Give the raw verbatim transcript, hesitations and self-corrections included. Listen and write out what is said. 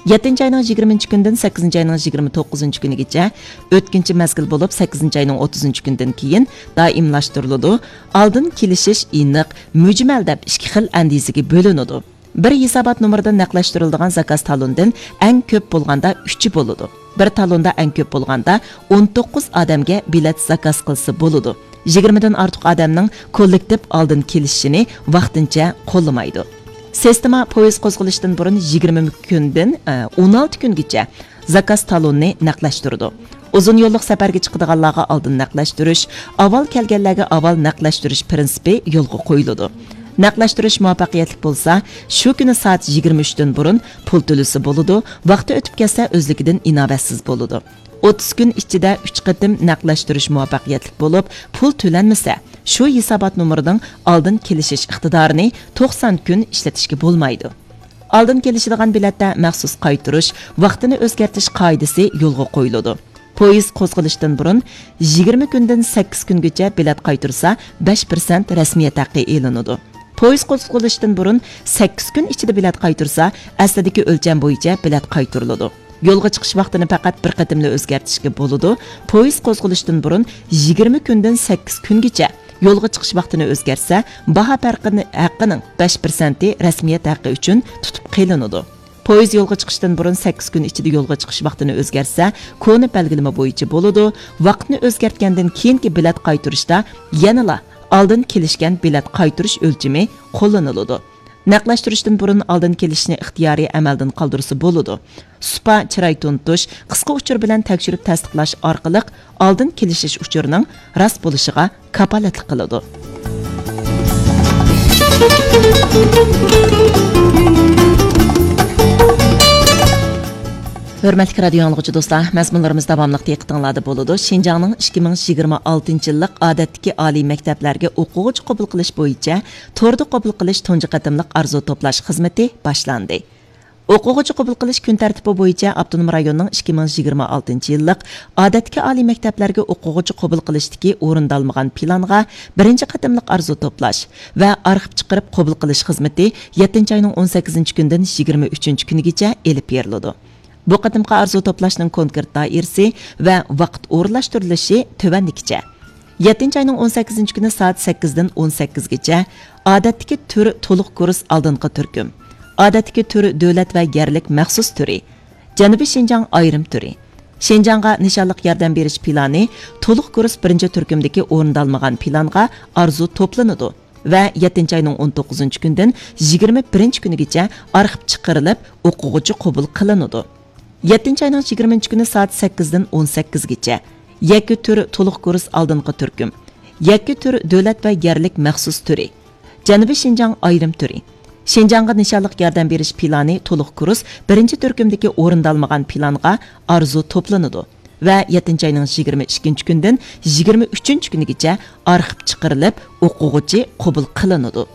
يەتتىنچى ئاينىڭ يىگىرمىنچى كۈنىدىن سەككىزىنچى ئاينىڭ يىگىرمە توققۇزىنچى كۈنىگىچە ئۆتكۈنچى مەزگىل بولۇپ، سەككىزىنچى ئاينىڭ ئوتتۇزىنچى كۈنىدىن كېيىن دائىملاشتۇرۇلىدۇ. ئالدىن كېلىشىش ئېنىق، مۈجمەل دەپ ئىككى خىل ئەندىزىگە بۆلۈنىدۇ. بىر ھېسابات نومۇرىدا نەقلەشتۈرۈلىدىغان زاكاز تالوندىن ئەڭ كۆپ بولغاندا ئۈچى بولىدۇ. بىر تالوندا ئەڭ كۆپ بولغاندا ئون توققۇز ئادەمگە بېلەت زاكاز قىلسا بولىدۇ. يىگىرمىدىن ئارتۇق ئادەمنىڭ كوللېكتىپ ئالدىن كېلىشىشىنى ۋاقتىنچە قوللىمايدۇ. سىستېما پويىز قوزغىلىشتىن بۇرۇن يىگىرمە كۈندىن، ئە، ئون ئالتە كۈنگىچە زاكاز تالونىنى نەقلەشتۈرىدۇ. ئۇزۇن يوللۇق سەپەرگە چىقىدىغانلارغا ئالدىن نەقلەشتۈرۈش، ئاۋۋال كەلگەنلەرگە ئاۋۋال نەقلەشتۈرۈش پىرىنسىپى يولغا قويۇلىدۇ. نەقلەشتۈرۈش مۇۋەپپەقىيەتلىك بولسا، شۇ كۈنى سائەت يىگىرمە ئۈچتىن بۇرۇن پۇل تۆلىسە بولىدۇ، ۋاقتى ئۆتۈپ كەتسە، ئۆزلۈكىدىن ئىناۋەتسىز بولىدۇ. ئوتتۇز كۈن ئىچىدە ئۈچ قېتىم نەقلەشتۈرۈش مۇۋەپپەقىيەتلىك بولۇپ، پۇل تۆلەنمىسە، شۇ ھېسابات نومۇرىنىڭ ئالدىن كېلىشىش ئىقتىدارىنى توقسان كۈن ئىشلىتىشكە بولمايدۇ. ئالدىن كېلىشىدىغان بېلەتتە مەخسۇس قايتۇرۇش، ۋاقتىنى ئۆزگەرتىش قائىدىسى يولغا قويۇلىدۇ. پويىز قوزغىلىشتىن بۇرۇن يىگىرمە كۈندىن سەككىز كۈنگىچە بېلەت قايتۇرسا، بەش پىرسەنت رەسمىيەت ھەققى ئېلىنىدۇ. پويىز قوزغىلىشتىن بۇرۇن سەككىز كۈن ئىچىدە بېلەت قايتۇرسا، ئەسلىدىكى ئۆلچەم بويىچە بېلەت قايتۇرۇلىدۇ. يولغا چىقىش ۋاقتىنى پەقەت بىر قېتىملا ئۆزگەرتىشكە بولىدۇ. پويىز قوزغىلىشتىن بۇرۇن يىگىرمە كۈندىن سەككىز كۈنگىچە يولغا چىقىش ۋاقتىنى ئۆزگەرتسە، باھا پەرقىنى، ھەققىنىڭ بەش پىرسەنتى رەسمىيەت ھەققى ئۈچۈن تۇتۇپ قېلىنىدۇ. پويىز يولغا چىقىشتىن بۇرۇن سەككىز كۈن ئىچىدە يولغا چىقىش ۋاقتىنى ئۆزگەرتسە، كونا بەلگىلىمە بويىچە بولىدۇ. ۋاقىتنى ئۆزگەرتكەندىن كېيىنكى بېلەت قايتۇرۇشتا يەنىلا ئالدىن كېلىشكەن بېلەت قايتۇرۇش ئۆلچىمى قوللىنىلىدۇ. نەقلەشتۈرۈشتىن بۇرۇن ئالدىن كېلىشىشنى ئىختىيارىي ئەمەلدىن قالدۇرسا بولىدۇ. سۇپا، چىراي تونۇتۇش، قىسقا ئۇچۇر بىلەن تەكشۈرۈپ تەستىقلاش ئارقىلىق ئالدىن كېلىشىش ئۇچۇرىنىڭ راست بولۇشىغا كاپالەتلىك قىلىدۇ. ھۆرمەتلىك رادىيو ئاڭلىغۇچى دوستلار، مەزمۇنلىرىمىز داۋاملىق دىققىتىڭلاردا بولىدۇ. شىنجاڭنىڭ ئىككى مىڭ يىگىرمە ئالتىنچى يىللىق ئادەتتىكى ئالىي مەكتەپلەرگە ئوقۇغۇچى قوبۇل قىلىش بويىچە توردا قوبۇل قىلىش تۇنجى قېتىملىق ئارزۇ توپلاش خىزمىتى باشلاندى. ئوقۇغۇچى قوبۇل قىلىش كۈن تەرتىپى بويىچە ئاپتونوم رايوننىڭ ئىككى مىڭ يىگىرمە ئالتىنچى يىللىق ئادەتتىكى ئالىي مەكتەپلەرگە ئوقۇغۇچى قوبۇل قىلىشتىكى ئورۇندالمىغان پىلانغا بىرىنچى قېتىملىق ئارزۇ توپلاش ۋە ئارخىپ چىقىرىپ قوبۇل قىلىش خىزمىتى يەتتىنچى ئاينىڭ ئون سەككىزىنچى كۈنىدىن يىگىرمە ئۈچىنچى كۈنىگىچە ئېلىپ بېرىلىدۇ. بۇ قېتىمقى ئارزۇ توپلاشنىڭ كونكرېت دائىرىسى ۋە ۋاقىت ئورۇنلاشتۇرۇلۇشى تۆۋەندىكىچە. يەتتىنچى ئاينىڭ ئون سەككىزىنچى كۈنى سائەت سەككىزدىن ئون سەككىزگىچە ئادەتتىكى تۈر تولۇق كۇرس ئالدىنقى تۈركۈم، ئادەتتىكى تۈر دۆلەت ۋە يەرلىك مەخسۇس تۈرى، جەنۇبىي شىنجاڭ ئايرىم تۈرى، شىنجاڭغا نىشانلىق ياردەم بېرىش پىلانى تولۇق كۇرس بىرىنچى تۈركۈمدىكى ئورۇندالمىغان پىلانغا ئارزۇ توپلىنىدۇ ۋە يەتتىنچى ئاينىڭ ئون توققۇزىنچى كۈنىدىن يىگىرمە بىرىنچى كۈنىگىچە ئارخىپ چىقىرىلىپ، ئوقۇغۇچى قوبۇل قىلىنىدۇ. يەتتىنچى ئاينىڭ يىگىرمىنچى كۈنى سائەت سەككىزدىن ئون سەككىزگىچە يەككە تۈر تولۇق كۇرس ئالدىنقى تۈركۈم، يەككە تۈر دۆلەت ۋە يەرلىك مەخسۇس تۈرى، جەنۇبىي شىنجاڭ ئايرىم تۈرى، شىنجاڭغا نىشانلىق ياردەم بېرىش پىلانى تولۇق كۇرس بىرىنچى تۈركۈمدىكى ئورۇندالمىغان پىلانغا ئارزۇ توپلىنىدۇ ۋە يەتتىنچى ئاينىڭ يىگىرمە ئىككىنچى كۈنىدىن يىگىرمە ئۈچىنچى كۈنىگىچە ئارخىپ چىقىرىلىپ، ئوقۇغۇچى قوبۇل قىلىنىدۇ.